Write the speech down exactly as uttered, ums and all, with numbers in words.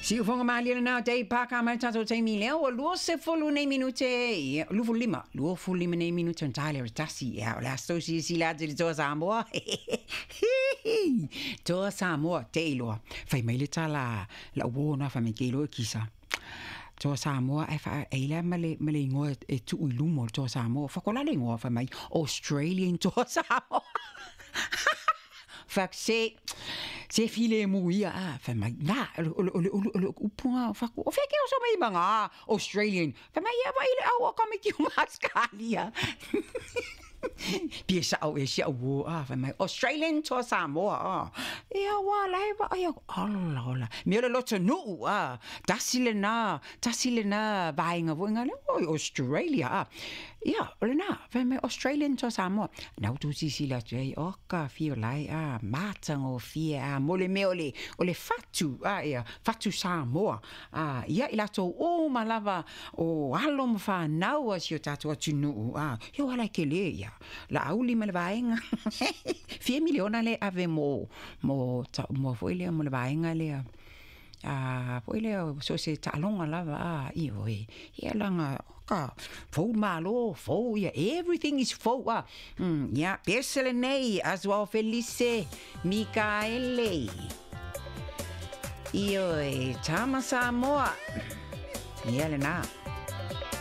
Siufoga malie lena o Dave Parker ma le tatou taimi lea ua luasefulu nei minute, ia, luafulu lima, luafulu lima nei minute ona ta lea o le tasi. Ia, o le aso silasila atu i le Toa Samoa, Toa Samoa, te iloa. Fai mai le tala lau uō na, fai mai ke iloa e kisa. Toa Samoa ae faa e i ma le ma le igoa e tuu i luma o le Toa Samoa. Fakola le igoa, fai mai Australian Toa Samoa. Fak se se file mu ia a fai mai na o le o le o le upu fa o fe ke o so mai manga Australian. Fai mai ia vai le au o ka miki Australia. Pia sao e sia wo a fai mai Australian Toa Samoa a. Ia wa lai ba ia ala ola. Me le loto nu a tasi le na tasi le na vainga vo nga le Australia a. Ia o le na fai mai Australian Toa Samoa. Na tu si si la tu ai o ka fio lai a mata fia a mo le mea o le o le fatu a ia fatu Samoa a ia i latou o malava o alo ma whanau a si o tātou atunuu a ia wala ke le ia la auli ma le vaenga fia miliona le ave mo mo ta, mo foi lea mo le vaenga lea a foi lea so se taaloga lava a ioe ia laga ka fou malo fou ia, everything is fou a mm, ia pese lenei Azuao Felice Mikaele ioe Tama Samoa ia lena.